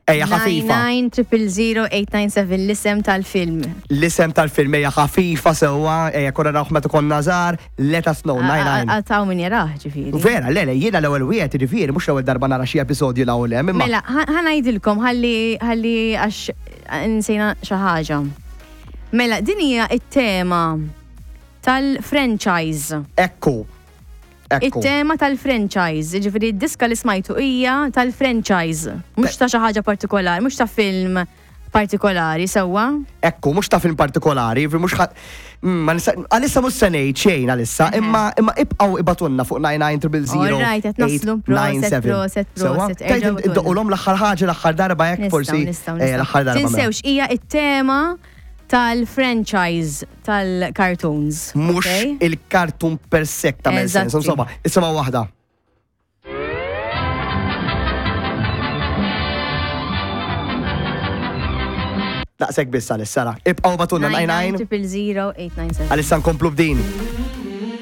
Ejja ħafifa. 9900897 l-isem tal-film. L-isem tal-film ejja ħafifa sewwa, ejja konna narawh meta konna żgħar, let us know, 99. Għataw min jarah ġifieri. Vera, le, le, jiena l-ewwel wieħed ġifieri, mhux l-ewwel darba nara xi episodju l hawn hemm, imma. Mela, ħa ngħidilkom ħalli ħalli għax nsejna xi ħaġa. Mela, din hija t-tema tal-franchise. Ekku. Ekku. It-tema tal-franchise, ġifieri d-diska li smajtu hija tal-franchise, mhux ta' xi ħaġa partikolari, mhux ta' film partikolari, sewwa? Ekku, mhux ta' film partikolari, ġifieri mhux ħa- Mm, ma nista' għalissa mhux se ngħid xejn għalissa, imma imma ibqgħu ibatunna fuq 99 All right, qed naslu, proset, proset, proset, Tajt erġgħu batunna. iddoqulhom l-aħħar ħaġa l-aħħar darba hekk Nistgħu, forsi. nistgħu, eh, L-aħħar nistgħu. darba. mela. Tinsewx hija it-tema tal-franchise tal-cartoons. Mhux okay? il-kartun per se ta' sens. Eżatti. Insomma, isimgħu waħda. Daqshekk biss għalissa ra. Ibqgħu batunna 99 000 897. għalissa nkomplu b'din.